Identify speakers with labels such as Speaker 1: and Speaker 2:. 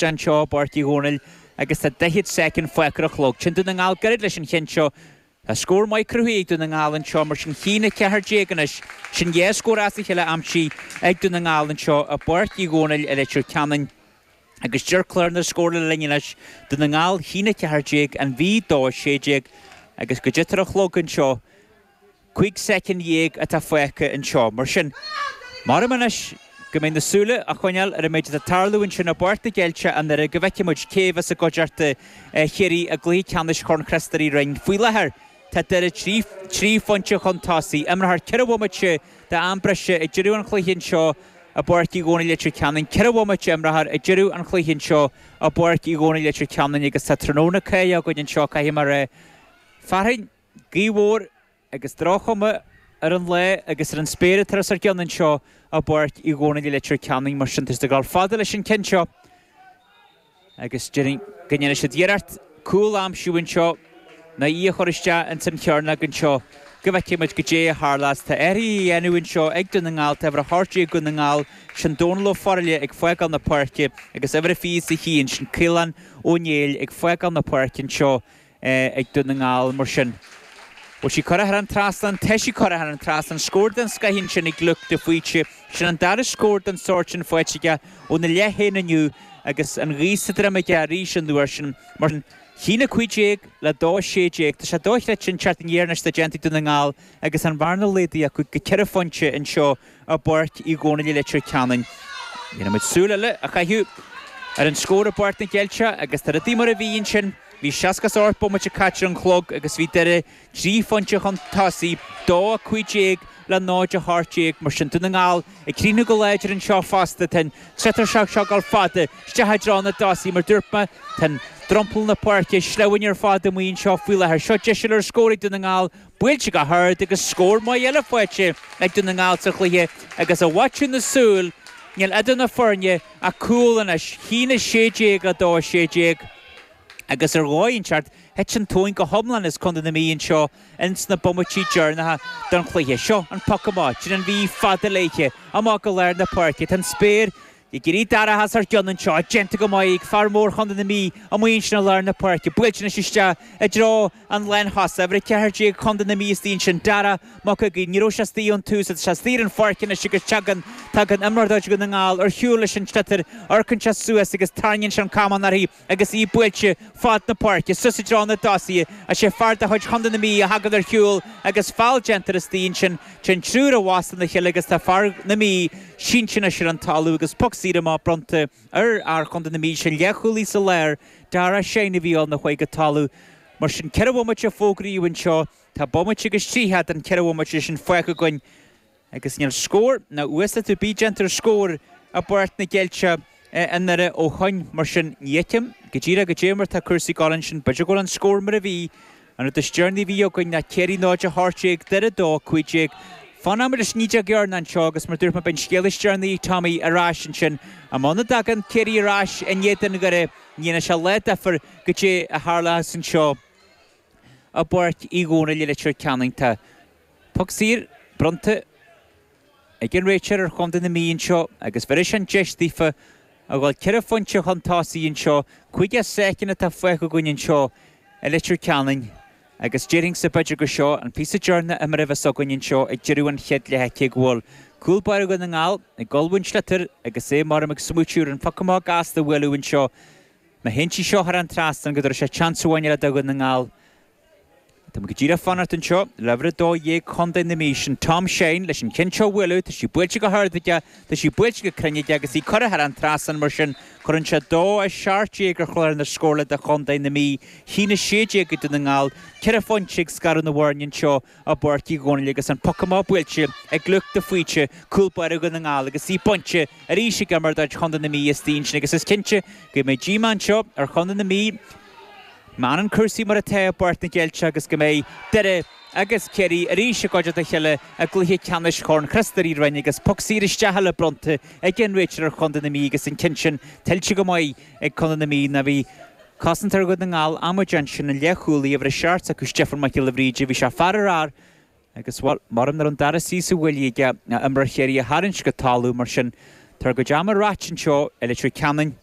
Speaker 1: isteach anseo i bPáirc Uí Dhónaill agus tá 40 soicind fágtha ar an chlog. Téann Dún na nGall gairid leis an cheann seo. Tá scór maith cruthaithe ag Dún na nGall anseo mar sin 1-14 anois. Sin dhá scór as a chéile aimsithe ag Dún na nGall anseo i bPáirc Uí Dhónaill i Leitir Ceanainn. Agus deir clár na scóranna linn anois, Dún na nGall 1-14, An Mhí 2-16 agus goidé atá ar an chlog anseo. 15 soicind atá fágtha anseo. Mar sin, maram anois go mbeidh na súile á choinneáil ar an méid atá ag tarlú ansin i bPáirc na gCeilteach i nDoire go bhfeicfidh muid cé a bheas i gcuideachta Chiarraí i gcluiche ceannais Chorn Chríost Rí Roinn. Faoi láthair, tá Doire 3 phointe chun tosaigh. Imreofar 4 bhomaite d'am breise ag deireadh an chluiche anseo i bPáirc Uí Dhónaill Leitir Ceanainn. 4 bhomaite a imreofar ag deireadh an chluiche anseo i bPáirc Uí Dhónaill Leitir Ceanainn agus tá tráthnóna cáidhe againn anseo, caithfidh mé a rá. Fearthainn, gaoth mhór agus droch-chuma ar an lá agus ar an spéir atá os ár gcionn anseo i bPáirc Uí Dhónaill i Leitir Ceanainn. Mar sin, tá siad ag dul fada leis an ceann seo agus déarfainn go ndéanfaidh siad iarracht cúl a aimsiú anseo nó í a chur isteach ins an chearnóg anseo go bhfeicfidh muid goidé a tharlós. Tá athruithe á dhéanamh anseo ag Dún na nGall, tá uimhir 18 Dhún na nGall, sin Dónal Ó Faraile ag fágáil na páirce agus uimhir a 21, sin Caolán Ó Néill ag fágáil na páirce anseo. ag Dún na nGall mar sin. Bhfuil sí curtha thar an trasnán? Tá sí curtha thar an trasnán. Scór den scoith ansin ag Luke de Faoite. Sin an dara scór den sórt sin faighte aige óna leath féin inniu agus an ghaoth sa droim aige arís an uair sin. Mar sin, 1-15 le 2-16. Tá sé dochreidte an tseachtain dheireanach atá déanta ag Dún na nGall agus an bhearna laghdaithe acu go ceithre phointe anseo i bPáirc Uí Dhónaill i Leitir Ceanainn. Déanfaidh muid súil eile a chaitheamh ar an scór i bPáirc na gCeilteach agus tá rudaí mar a bhí ansin. Bhí 68 bomaite caite ar an chlog agus bhí Doire 3 phointe chun tosaigh, 2-15 le 0-18. Mar sin, Dún na nGall ag críochnú go láidir anseo fosta. Tá an sliotar seo ag dul fada isteach i dtreo na dtosaithe. Mar dúirt mé, tá an dromchla na páirce sleamhain ar fad amuigh anseo faoi láthair. Seo deis eile ar scór ag Dún na nGall. Buailte go hard agus scór maith eile faighte ag Dún na nGall sa chluiche agus i bhfaiteadh na súl, níl idir na foirne ach cúl anois, 1-16 le 2-16 agus ar dhóigh inteacht, thit an tóin go hiomlán as Contae na Mí anseo ins na bomaití deireanacha den chluiche. Seo an poc amach, déanann an Mhí fada léithe, amach go lár na páirce, tá an spéir Ag éirí dorcha os ár gcionn anseo, déanta go maith ag fear mór Chontae na Mí amuigh ansin i lár na páirce, buailte anois isteach i dtreo an lántosaí, uimhir 14 Chontae na Mí istigh ansin, Dara Mac Uiginn, ní raibh sé istigh ón tús, tá sé istigh ar an pháirc anois agus tagann, tagann imreoir de chuid Dhún na nGall ar shiúl leis an sliotar, amharcann sé suas agus tarraingíonn sé an camán uirthi agus í buailte fad na páirce, suas i dtreo na dtosaithe. Is é fear de chuid Chontae na Mí a thagann ar shiúl agus feall déanta istigh ansin. Téann triúr i bhfastó na chéile agus tá fear na Mí sínte anois ar an talamh agus poc saor amach bronnta ar fhear Chontae na Mí. Sin leathchúlaí sa lár, Dara Shine a bhí ann a chuaigh go talamh. Mar sin, 4 bhomaite a fógraíodh anseo. Tá bomaite agus 30 den 4 bhomaite sin fágtha againn. Agus níl scór ná uasdátú ar bith déanta ar scór i bPáirc na gCeilteach i nDoire ó shoin. Mar sin, ní fheicim go díreach goidé mar tá cúrsaí ag dul ansin. B'fhéidir go bhfuil an scór mar a bhí. An rud is deireanaí a bhí againn ná Ciarraí 0-18, Doire 2-15. Fanfaidh muid leis an ídeog dheireanach anseo agus mar dúirt mé beidh an scéal is deireanaí ag Tommy ar ais ansin. Muna dtagann Ciarraí ar ais in éadan Dhoire, ní dhéanfaidh sé lá difir goidé a tharlós anseo i bPáirc Uí Dhónaill i Leitir Ceanainn. Tá Poc saor bronnta ag an réiteoir ar chontae na Mí anseo agus bheirfeadh sé an deis daofa a dhul ceithre phointe chun tosaigh anseo. 50 soicind atá fágtha againn anseo i Leitir Ceanainn agus déarfainnse b'fhéidir gur seo an píosa deireanach imeartha a bheas againn anseo ag deireadh an chéad leath cé go bhfuil cúl báire Dhún na nGall ag dul ón sliotar agus é maram ag smaoitiú ar an phoc amach gasta a bhualadh anseo. Má théann sí seo thar an trasnán go dtabharfaidh sé chance amháin eile do Dhún na nGall. Tá muid go díreach ag fanacht anseo le uimhir 12 Chontae na Mí, sin Tom Shine leis an cheann seo a bhualadh. Tá sí buailte go hard aige, tá sí buailte go cruinn aige agus í curtha thar an trasnán mar sin cuireann sé 2-17 ar chlár na scórála do Chontae na Mí. 1-16 ag Dún na nGall, ceithre phointe ag scaradh na bhfoirne anseo i bPáirc Uí Dhónaill agus an poc amach buailte ag Luke de Faoite, cúl báire Dhún na nGall agus í bainte arís ag imreoir de chuid Chontae na Mí istigh ansin agus is cinnte go mbeidh díomá anseo ar Chontae na Mí. Má fhanann cúrsaí mar atá i bPáirc na gCeilteach agus go mbeidh Doire agus Ciarraí arís i gcuideachta a chéile i gcluiche ceannais Chorn Chríost Rí Roinn agus poc saor isteach eile bronnta ag an réiteoir ar Chontae na Mí agus an ceann sin tuillte go maith ag Contae na Mí ná bhí cosantóir Dhún na nGall amaideach ansin an leathchúlaí uimhir a 7 s'acu Stiofán Mac Giolla Bhríde bhí sé fear ar fhear agus bhuel maram nach raibh an dara suí sa bhuille aige imreoir Chiarraí a tharraingt go talamh mar sin tá ár gcuid ama reaite anseo i Leitir Ceanainn.